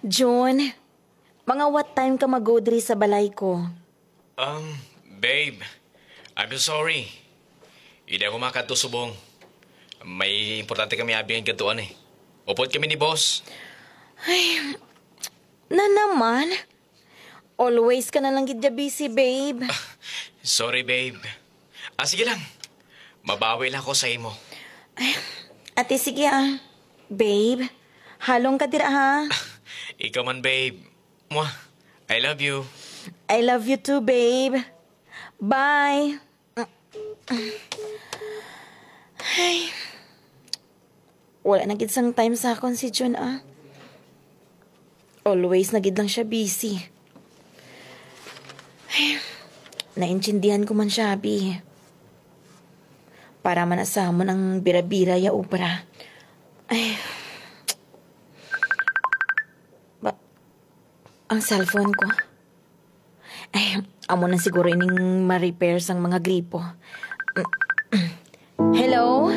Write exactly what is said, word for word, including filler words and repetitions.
Jun, mga what time ka mag-go diri sa balay ko? Um, babe, I'm so sorry. Hindi ako makadto subong. May importante kami abi nga gadtuan eh. Upod kami ni boss. Na naman? Always ka na lang gid ya busy, babe. Sorry, babe. Ah, sige lang. Mabawi lang ako sa imo. Ate, sige ah. Babe, halong ka dira ha. Ikaw man, babe. Mwah. I love you. I love you too, babe. Bye. Ay. Wala na gid sang time sa akon si Jun, ah. Always na gid lang siya busy. Ay, naintindihan ko man siya, abi. Para man na sa amon ang bira-bira ya obra. Ay. Ba, ang cellphone ko. Ay, amo na siguro ining ma-repair sang mga gripo. Hello?